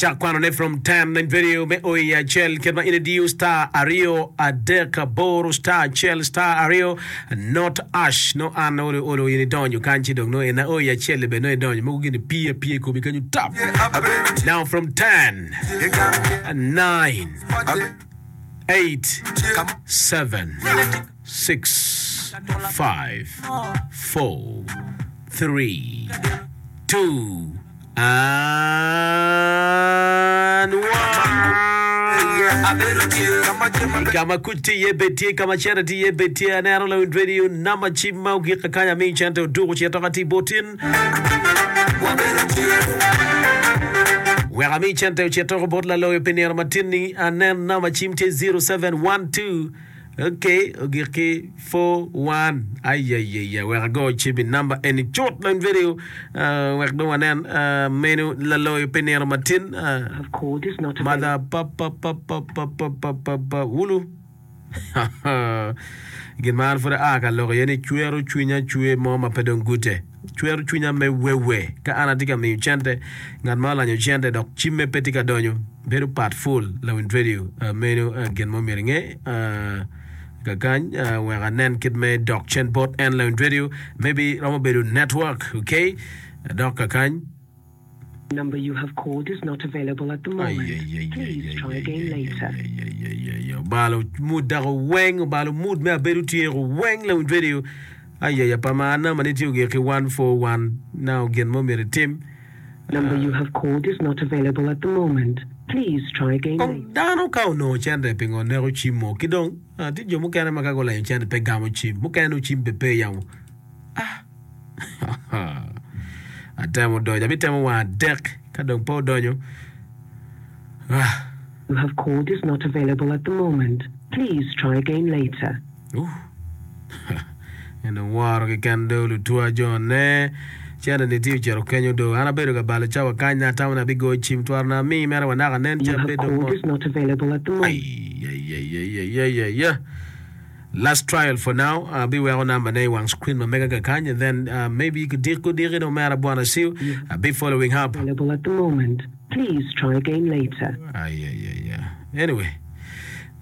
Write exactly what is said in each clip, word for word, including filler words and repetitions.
Cak kwanone from ten in video me o i acel kit ma in idiyo star aryo adek aboro star acel star aryo not ash no an olo olo in idonyo kany ci dong no en o i acel bene no idonyo mogo gini pii apiya i komi kenyo tap now from ten nine eight seven six five four three two And one. Ka ma kuc tye iye bed tye, ka ma cente tye iye bed tye. Aneno lawiny radio namba cim ma ogik kakany amiyo cente oduku cito ka tye botin. Wek ami cente ocito bot laloyo pi nino matin-ni, anen namba cim tye zero seven one two. Ok, ogik ki four one. Ayayaya, wek ago cim i namba eni cut lony video uh, wek dong wanen uh, menu laloyo pi nino matin. Uh, Have called is not mother available. pa pa pa pa pa pa pa pa pa wulu. Gin ma an pud aa ka lok iye ni cwero cwinya cwer mo ma pe dong gute. Cwero cwinya me wewe ka an atye ka miyo cente, ngat ma olanyo cente dok cimme pe tye ka donyo, bedo pat ful lawiny radio. Meno gin ma omyero inge kakany wek anen kit me dok cen bot en lawiny radio. Maybe romo bedo network, okay? Adok kakany. Number you have called is not available at the moment. Please try again later. Ayayayayayayayayaya obalo mood dako weng obalo mood me abedo tyeko weng lawiny radio. Ayaya pa ma namba ni tye ogik ki one four one now gin mo myero itim. Number you have called is not available at the moment. Please try again Kong later. dano ka onongo cente pingo neko cim mo ki dong tye jo mukene ma ka gulenyo cente pe gamo cim mukene nongo cim be pe yamo ah atemo donyo abitemo wang adek ka dong pe odonyo ah. You have called is not available at the moment. Please try again later. Uh. En dong woro keken do lutwa jo ne cene ni tye ocito kenyo do an abedo ka balo cawa kany na atamo ni abigoyo cim twaro na ami mere wa naka nen You ca have bedo called mo is not available at the moment. Ayayayayayaya Last trial for now abiweko number ne i wang screen ma mega kakany and then uh, maybe kudiki kudiki no mera bwana siu You have abi following up. available at the moment. Please try again later. Ayayaya anyway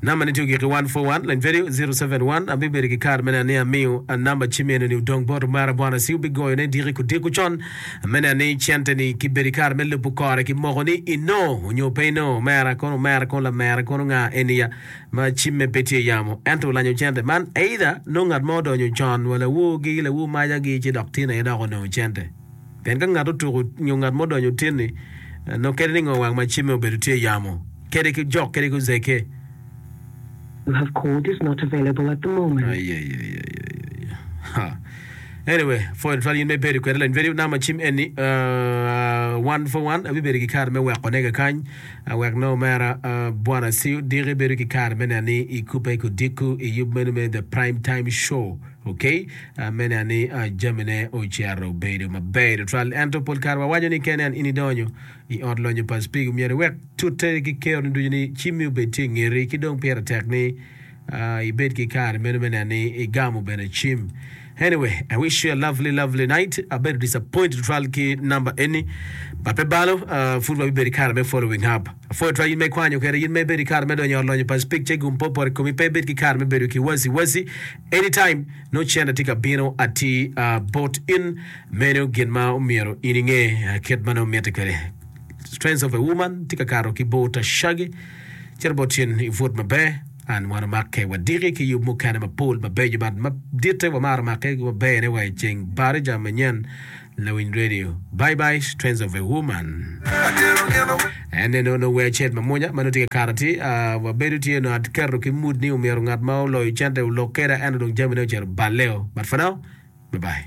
Namba ni tye ogik i one four one, lany vedio zero seven one. Abibedo ki kare me neno ni amiyo namba cim eno ni odong bot omera Bwana ci wubigoyo ne diki kudiko con me neno ni cente ni ki bedo i kare me lubo kore ki moko ni inongo onyo pe inongo omera kono omera kono lamera kono nga eni ya ma cimme pe tye yamo ento olanyo cente man either nongo ngat mo odonyo con wa lawor gi lawor maca gi ci dok tin aye dok onongo cente. Pien ka ngat otuko nyo ngat mo odonyo otinni, nongo kadi ni ngo wang ma cimme obedo tye i yamo, kadi ki jok kadi ki ozeke. You have called is not available at the moment. Ayayayayaya. Ha. Anyway, pwoyo tutwal in ma ibedo kwede lany vedio namba cim eni uh, one for one abibedo ki kare me weko ne kakany uh, wek nongo omera uh, bwana Siu diki bedo ki kare me neno ni ikubbe kudiko i yub meno me the prime time show. Ok, me neno ni jamine ocito obedo maber tutwal. Ento pol kare wawaco ni kene in idonyo i ot lonyo pa Speke myero iwek tute ki keroni ducu ni cimmi obed tye i ngeti ki dong pire tek ni ibed ki kare meno me neno ni igamo bene cim. Anyway, I wish you a lovely lovely night. Abedo disappointed tutwal ki number eni but pe balo pud wabibedo ki kare me following up. Apwoyo twal in ma ikwanyo kwede in ma ibedo ki kare me donyo i ot lonyo pa Speke ce gum pe opoto i komi pe ibed ki kare me bedo ki waci waci. Anytime nongo cente tye ka bino atir bot in, meno gin ma omyero in inge kit ma nongo mitte kwede. Strength of a woman tye ka kato ki bot Shaggy. Cito bot in i put maber. An wan omakke wadiki ki yub mukene mapol mabeco but maditte wamaro makke maber ne wa i ceng Barija manyen Lawiny Radio. Bye bye Strength of a Woman. En ene onongo wer acel mamwonya ma nongo tye ka kato atir. Ah, wabedo tye onongo aketo ki mood ni omyero ngat ma oloyo cente olok keda ento dong jamine ocito balleo. But for now, bye bye.